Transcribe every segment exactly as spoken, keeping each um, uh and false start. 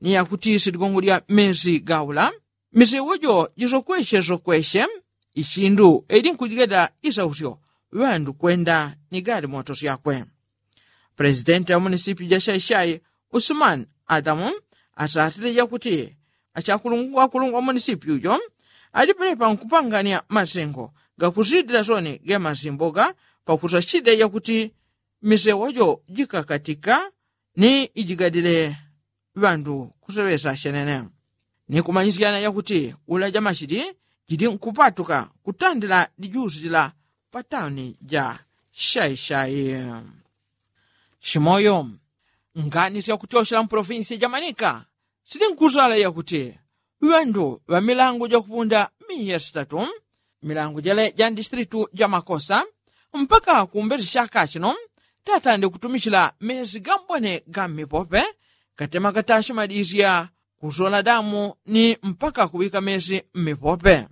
ni yakuti siligongo lya mezi gaula misewo jo jisokweshe sokweshe ichindu eli nkujigada isausyo ŵandu kwenda ni galimoto syakwe. Plesidenti wa munisipyu ja shaishai usumani adamu asasile yakuti achakulungwa kulungwa munisipyu jo alipelepa nkupangania masengo gakusidila soni ge masimboga pakusasida yakuti misewo jo jikakatika ni ijigadile ŵandu kuseŵesa shenene ni kumanyisyana yakuti ula ja mashili jili nkupatuka kutandila lijusi lila pa tauni ja shaishai. Shimoyo ngani syakutyoshela mpolofinsi ja manika sili nkusala yakuti ŵandu ŵa milangu jakupunda miya sitatu milangu jele ja ndisitilitu ja makosa mpaka kumbesi shaka shino tatande kutumichila mezi gambone ga mmipope katema katashi madisya kusola damu ni mpaka kuŵika mezi mmipope.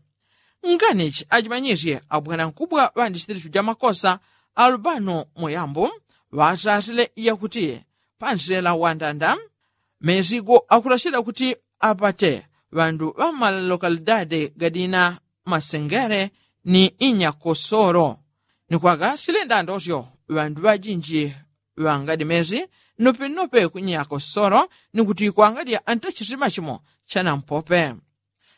Nganichi ajimanyisye abwanankubwa ŵa ndisitilitu ja makosa alubano muyambo ŵasasile yakuti pansela wandanda mezi go akulashila kuti apate ŵandu ŵa mmalokalidade gadina masengere ni inyakosolo ni kwaga silendandosyo ŵandu ŵajinji ŵangadi mezi nopenope ku inyakosolo ni kuti kwangadya antachitima chimo chanampope.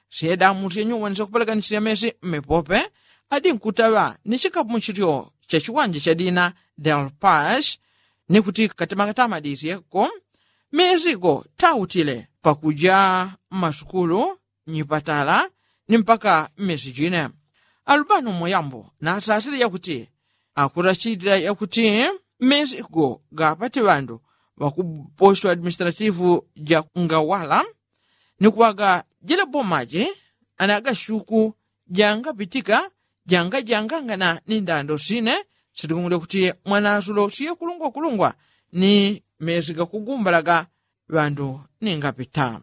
Syedamu syenyuwani syakupelekanishila mezi mmipope adi nkutaŵa ni chikamuchilyo cha chiwanja cha dina del pash ni kuti katemakatama disyeko mezi go tautile pakuja mmasukulu nyipatala ni mpaka mmezi jine. Alubano muyambo nasasile yakuti akurachilila yakuti mezi go gapati ŵandu ŵakuposho administrativu ja ngawala ni kuŵaga jila bomaji anagashuku jangapitika jangajangangana ni ndando sine silikungule kuti mwanasulo siye kulungwa kulungwa ni mezi gakugumbalaga ŵandu ningapita.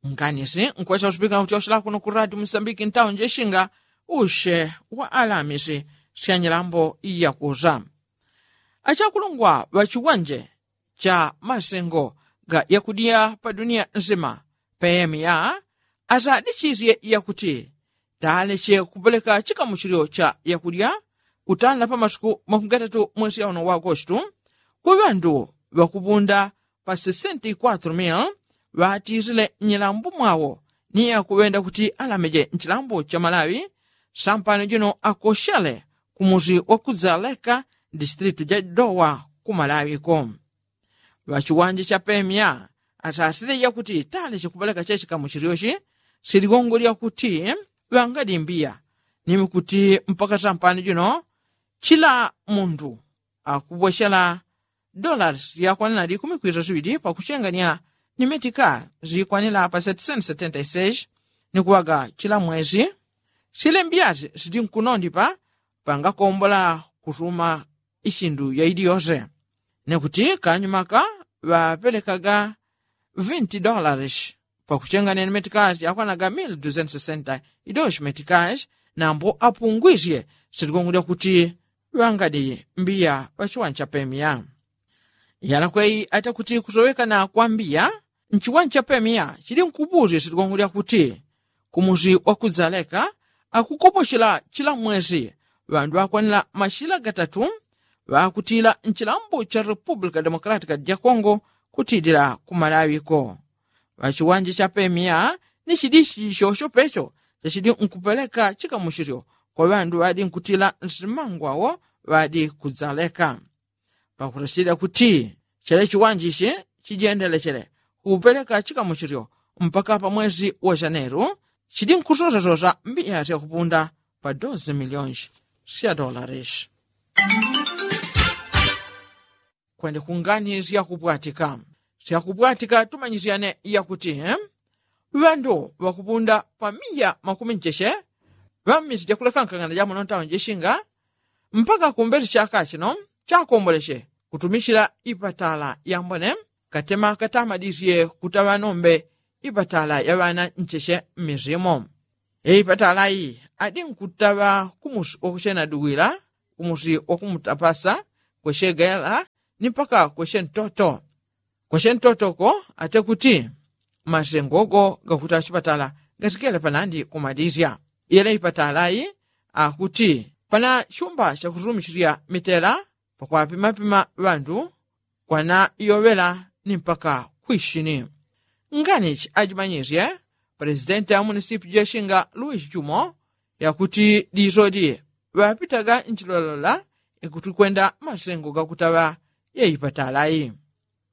Nganisi nkwesya usupikila kuti osilakuna ku radio musambiki ntawo njeshinga ushe wa alamisi syanyilambo yakusa achakulungwa ŵa chiwanje cha masengo ga yakudya pa duniya nsima peyemiya asadichisye yakuti taleche kupeleka chikamuchilyo cha yakudya kutanda pa masuku makugatatu mwesi yauno wa agostu ku ŵandu ŵakupunda pa sesenta y kwatro mil ŵatisile nyilambo mwawo ni akuŵenda kuti alameje nchilambo cha malawi sampano jino akoshele kumusi wa kudzaleka distritu ja dowa ku malawi ko ŵachiwanja cha pemia asasile yakuti taleche kupeleka chechikamuchilyochi siligongo lyakuti ŵangadimbiya nimi kuti mpaka sampano jino chila mundu akubwechela dolari yakwanila likumi kwisa siŵili pakuchengania ni metika zikwanila pa seti senti setenta y seis ni kuŵaga chila mwesi sile mbiyasi sili nkunondipa pangakombola kusuma ichindu yaili yose ni kuti kanyumaka ŵapelekaga vinti dolari pakuchengania ni metika yakwanaga mili dusenti sesenta idoshi metika nambo apungwisye siligongo lyakuti ŵangadi mbiya ŵa chiwanja cha pemia yalakweyi ata kuti kusowekana kwa mbiya nchiwanja cha pemia chili nkupusye siligongo lyakuti kumusi wa kudzaleka akukopochela chila mwesi ŵandu ŵakwanila mashila gatatu ŵakutila nchilambo cha republika democratika ja kongo kutilila ku malawi ko ŵachiwanja cha pemia ni chilichi chocho pecho chachili nkupeleka chikamuchilyo kwa ŵandu ŵadi nkutila nsimangwawo ŵadi kudzaleka pakulachilila kuti chele chiwanja ichi chijendelechele kupeleka chikamuchilyo mpaka pa mwesi wa janeru chili nkusosasosa mbiya syakupunda pa dosi miliyoni sya dolari kwende kungani syakupwatika syakupwatika tumanyisyane yakuti ŵandu ŵakupunda pa miya makumi ncheche ŵammisi jakulekankangana jamuno ntawo njeshinga mpaka kumbesi chaka chino chakomboleche kutumichila ipatala yambone katema katamadisye kutaŵa nombe ipatala ya ŵana ncheche mmisimo ipatala iyi adi nkutaŵa kumusi wakuchena duwila kumusi wakumutapasa kwechegela ni mpaka kweshe ntoto. Kweshe ntoto ko ate kuti masengo go gakuta chipatala gatikele panandi kumadisya. Yele ipatala yi akuti pana chumba chakuturumichilya mitela pakwapimapima ŵandu kwana yoŵela ni mpaka kwishini. Nganichi ajimanyisye presidenti a munisipi jeshinga luis jumo yakuti disodi ŵapitaga nchilolola ikuti kwenda masengo gakutaŵa yeipatala yi.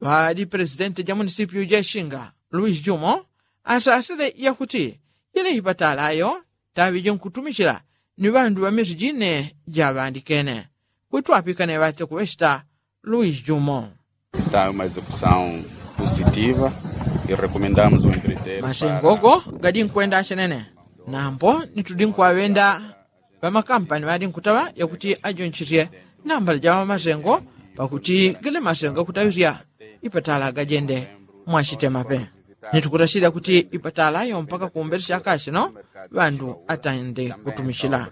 Ŵaŵadi presidenti ja munisipi jeshinga luis jumo asasile yakuti yele ipatala yo taŵi jinkutumichila ni ŵandu ŵa misi jine jaŵandikene. Kwitwapikane ŵate kuŵechita luis jumo. Está uma execução positiva e recomendamos o empreiteiro masengo go gadinkwenda achenene. Nambo nitudinkuŵaŵenda ŵamakampani ŵadinkutaŵa yakuti ajonchisye nambala ja ŵamasengo pakuti gele masengo gakutaŵisya ipatala gajende mwachitemape. Nitukutachilya kuti ipatala yo mpaka kumbele chaka chino ŵandu atande kutumichila.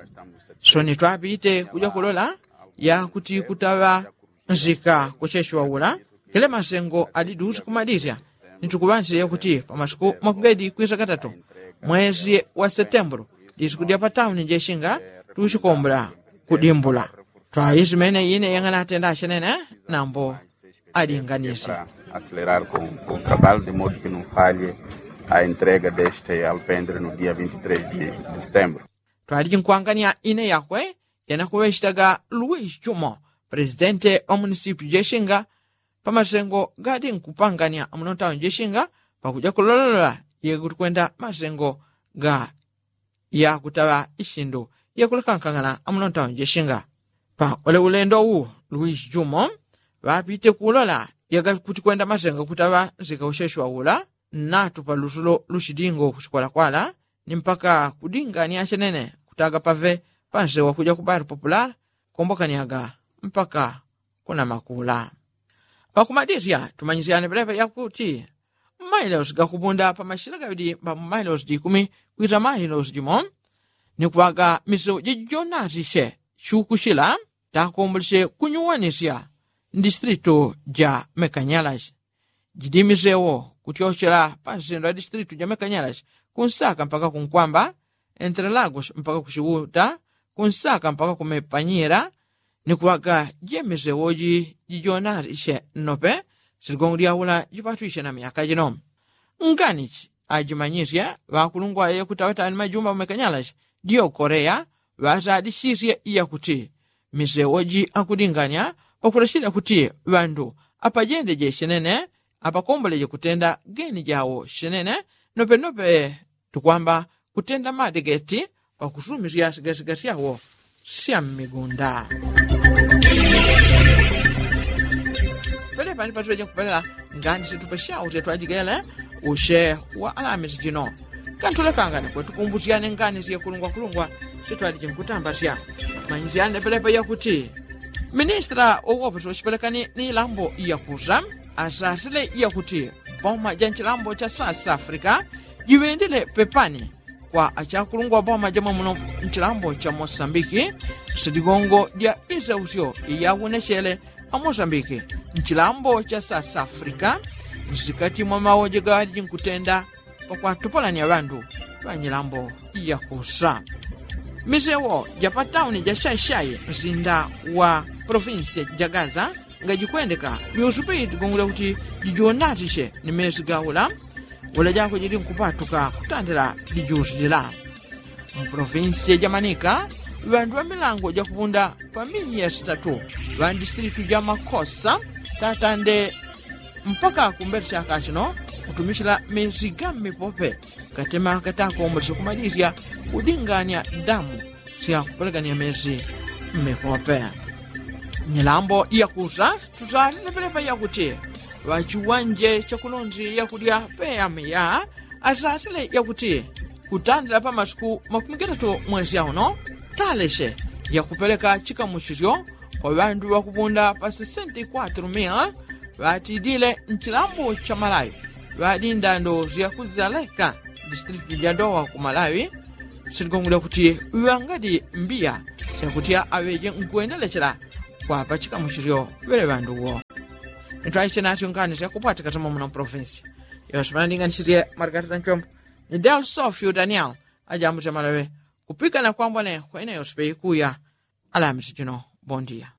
So nitwapite kuja kulola yakuti kutaŵa nzika kucheshiŵaula kele masengo adi dusi kumadisya. Nitukuŵanchile yakuti pamasiku makugedi kwisa katatu mwesi wa setembulu disiku dya patauni jeshinga tuchikombula kudimbula. Twaisi mene ine yang'anatenda achenene nambo adinganisi. Acelerar com o trabalho de modo que não falhe a entrega deste alpendre no dia vinte e três de setembro. Twaliji nkwangania ine yakwe yanakuŵechitaga luis jumo presidente wa munisipi jeshinga pamasengo gadi nkupangania muno ntauni jeshinga pakuja kulololola yekuti kwenda masengo ga yakutaŵa ishindu yakulekankangana amuno ntauni jeshinga. Pa ule ulendo wu luis jumo ŵapite kulola yagakuti kwenda masengo kutaŵa nzika usheshiŵaula nnatu pa lusulo lushidingo kuchikwalakwala ni mpaka kudingania chenene kutaga pave pansewa kuja kubali popular kombokaniaga mpaka kuna makula. Pakumadisya tumanyisyane pelepa yakuti mmailosi gakupunda pamashila gaŵidi mba mmailosi jikumi kwita mailosi jimo ni kuŵaga misewo jijonasisye chukuchila takombolesye kunyuwanisya ndisitilitu ja mekanyalashi. Jidi misewo kutyochela pansendo ya disitilitu ja mekanyalashi kunsaka mpaka kunkwamba, entre lagos mpaka kuchiuta, kunsaka mpaka kumepanyila. Ni kuŵaga jemisewo ji jijonasisye nnope siligongo lyaula jipatwisye na myaka jino. Nganichi ajimanyisye ŵakulungwa yekutaŵataŵa ni majumba mekanyalashi diyo koreya ŵasadisisye yakuti misewo ji akudingania pakulachila kuti ŵandu apajendeje chenene apakomboleje kutenda geni jawo chenene. Nopenope tukwamba kutenda madegeti pakusumisya sigasigasi yawo sya mmigunda. Pelepa ni patuŵeje kupelela ngani situpesya usye twajigele usye wa alamisi jino. Kantulekangane kwetukumbusyane ngani syekulungwakulungwa sitwaliji nkutambasya. Manyisyane pelepa yakuti ministra wowope soshipelekani ni ilambo iyakusa asasile iyakuti boma ja nchilambo cha south africa jiŵendile pepani kwa achakulungwa boma jamwe muno nchilambo cha mosambiki. Sidigongo dya isausyo iyawonechele amosambiki nchilambo cha south africa nsikati mwa mawoje gaŵaliji nkutenda pakwatupolanya ŵandu ŵanyilambo yakusa. Misewo ja patauni ja shaishai nsinda wa polofinsiya ja gaza ngajikwendeka yusupi digongole kuti jijonasisye ni mesi gaula. Ula jako jili nkupatuka kutandila lijusi lila mpolofinsiya ja manika. Ŵandu ŵa milango jakupunda pa miya sitatu ŵa ndisitilitu ja makosa tatande mpaka kumbele chaka chino kutumichila mesi ga mmipope katema katakomboleche kumadisya kudingania damu sya kupelekania mesi mmipope. Milambo yakusa tusalile pelepa yakuti ŵachiwanje chakulonzi yakudya peyamiya asasile yakuti kutandila pa masiku makumi gatatu mwesi yauno taleshe yakupeleka chikamuchisyo kwa ŵandu ŵakupunda pa sesenta kwatru mia ŵatidile nchilambo cha malawi ŵadi ndando syakuzaleka district ja dowa ku malawi. Siligongole kuti ŵangadi mbiya syakutya aŵeje nkwendelechela kwapa chikamuchisyo ŵele ŵandu wo. Nitwaiche natyo ngani syakupwatika tamo muno provinsi. Yose panandinganisirye margarita nchombo ni del sofio daniel. Ajambuche malawe kupikana kwambone kwaina yose peikuya. Alamisi chino bondia.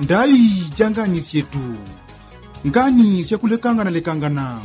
Ndai janganisye tu ngani syakulekangana lekangana.